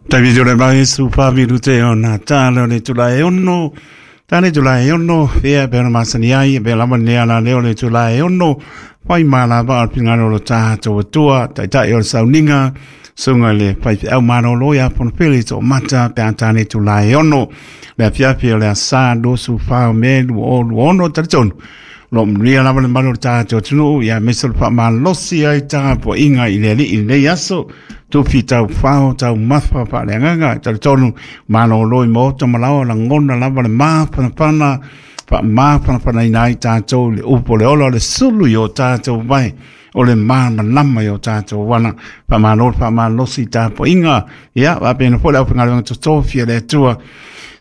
Taimi tole mai su fa minute ona tala o le tula e ono. Tale tula e ono, fea pe ona masani ai, pe lava nea la leo le tula e ono. Whai mālava o le pingano lo tātou atua, taitai o le sauninga, sunga le whaiwhiau mālolo ia ponopele tō mata pe a tāne tula e ono. Le afiafi o le asa 24 o Me 2026 talitonu. Lo manuia lava le malu o le tātou atunuu, ia aemaise o le faamalosi ai tapuaiga i le Alii i lenei aso. Tufi tau fao, tau mafa faaleagaga, e talitonu malolo i maota ma laoa lagona lava le mafanafana, faamafanafanaina ai tātou i le upu o le ola o le sulu i o tātou vae, o le malamalama i o tātou ala. Faamalo le faamalosi i tapuaiga, ia faapena foi le aufaigaluega totofi a le Atua.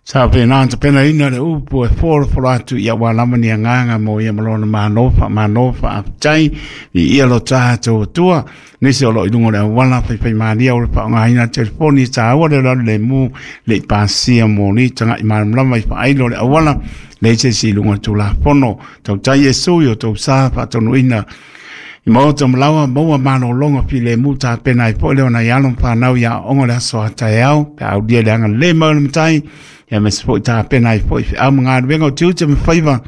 Sa faapena ona tapenaina le upu e folafolo atu ia aua lava ni agaga mo ia ma lona malo, faamalo, faafetai, viia lo tatou Atua. Nisi o lo o i luga o le auala faifaimalia o le faaaogaina telefoni e taua le alu lemu le i pasia moli taga'i malamalama i faailo le auala leai se isi i luga o le Tulafono. Tautai Iesu i o tou sa faatonuina i maota ma laoa maua malologa filemu tapena ai foi le ona i alo ma fanau i aoaoga o le aso a taeao pe a aulia le agalelei mai o le Matai ia aemaise foi tapena ai foi feau ma galuega o tiute ma faiva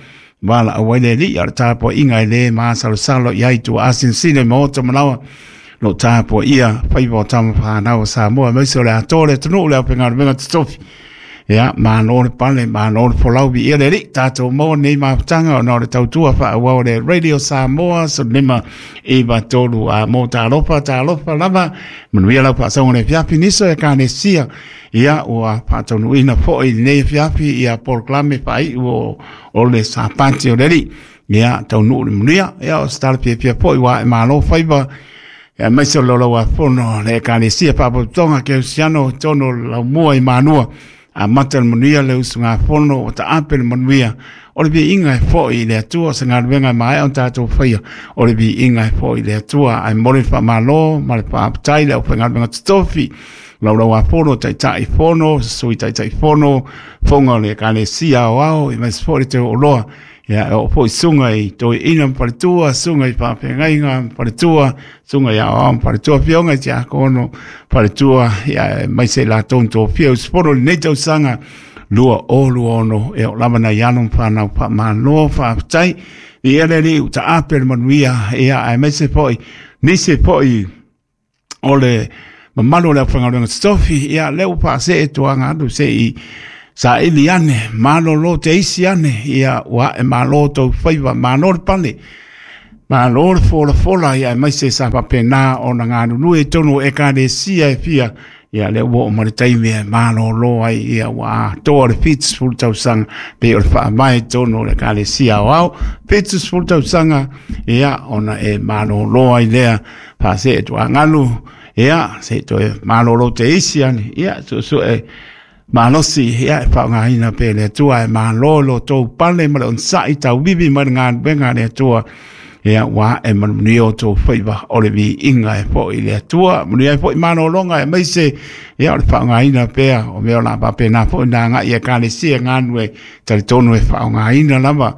valaau ai le Alii a o le tapuaiga e le masalosalo i ai tua asinosino i maota ma laoa lo tapuaia faiva o tama fanau o Samoa aemaise o le atoa o le atunuu le aufaigaluega totofi. Ia, malo le pale, malo le folau, viia le Alii, tatou maua nei mafutaga ona o le tautua faaauau a le Radio Samoa 1593 a mo talofa, talofa lava, manuia lau faasoga i le afiafi, nisi o Ekalesia, ia, ua faataunuuina foi i lenei afiafi ia polokalame faaiu o le Sapati o le Alii. Ia, taunuu le manuia, ia, o se tala fiafia foi ua ae malo faiva, ia, aemaise o le Laulau-a-Fono a le Ekalesia Faalapotopotoga Kerisiano i totonu o le Laumua i Manua. Amata le manuia le usugafono ua taape le manuia. O le viiga e foi i le Atua, o se galuega e maea ona tatou faia. O le viiga e foi i le Atua. Ae momoli le faamalo ma le faafetai i le aufaigaluega totofi, Laulau-a-Fono, Taitai Fono, Sui Taitai Fono, Fofoga o le Ekalesia Aoao, aemaise foi le Teu Oloa. Ia, e oo foi susuga i toeaina ma faletua, susuga i faafeagaiga ma faletua, susuga i aoao ma faletua, afioga i tiakono, faletua, ia, aemaise i latou na tofia usufono i lenei tausaga 2026, e oo lava nai alo ma fanau faamalo, faafetai. Viia le Alii ua taape le manuia, ia, aemaise foi nisi foi o le mamalu o le aufaigaluega totofi, ia lea ua faasee tuaga alu se i saili ane, malolo te isi ane, ia ua ae malo tou faiva, malo le pale, malo le folafola, ia aemaise sa faapena ona galulue i totonu o Ekalesia e fia, ia lea ua oo mai le taimi e malolo ai, ia ua atoa le 70 tausaga, pei o le faavae i totonu o le Ekalesia Aoao, 70 tausaga, ia ona e malolo ai lea. Faasee tuagalu, ia, se i toe malolo te isi ane, ia, suesue malosi, ia, e faaaogaina pea e le Atua, e malo lo tou pale ma le onosai tauivi mai le galuega a le Atua, ia, ua ae manuia o tou faiva o le viiga e foi i le Atua, manuia ai foi malologa aemaise, ia, o le faaaogaina pea o mea o le a faapena foi ona agai i Ekalesia galulue, talitonu e faaaogaina lava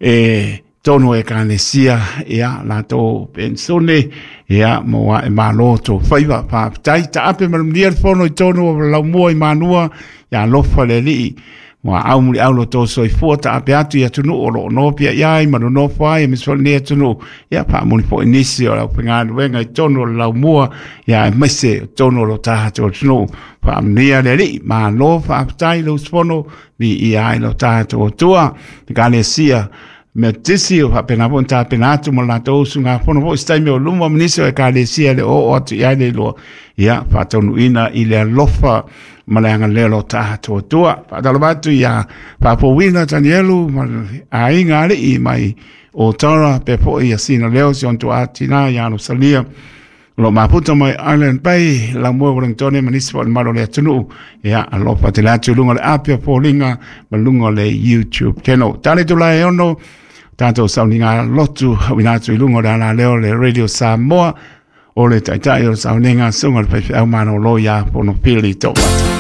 e tonu o Ekalesia, ia, latou penisione, ia, mo ae malo tou faiva. Faafetai, taape ma le manuia le fono i tonu o Laumua i Manua, ia alofa le Alii, muaau muliau lo tou soifua, taape atu i atunuu o lo o nofia i ai ma nonofo ai, aemaise foi lenei atunuu, ia, faamuli foi nisi o le aufaigaluega i tonu o le Laumua, ia, aemaise o tonu o lo tatou atunuu. Faamanuia le Alii, malo faafetai le usufono, viia ai lo tatou Atua. Ekalesia Metotisi o faapena foi ona tapena atu ma latou usugafono foi se taimi o luma ma nisi o Ekalesia e le o oo atu i ai le iloa, ia faataunuuina i le alofa ma le agalelei o lo tatou Atua. Faatalofa atu ia Faafouina Tanielu ma le aiga alii mai o Tara, pea foi ia Sina Leo, si ona tuaa tina ia Rosalia, o lo o mafuta mai Island Bay, Laumua Wellingtone ma nisi foi o le mamalu o le atunuu. Ia, alofa tele atu i luga o le api o foliga ma luga o le YouTube channel. Tale tulae e ono, tatou sauniga lotu, auina atu i luga o le alaleo o le Radio Samoa, o le taitai o le sauniga, susuga i le faifeau malolo ia Fonopili Toomata.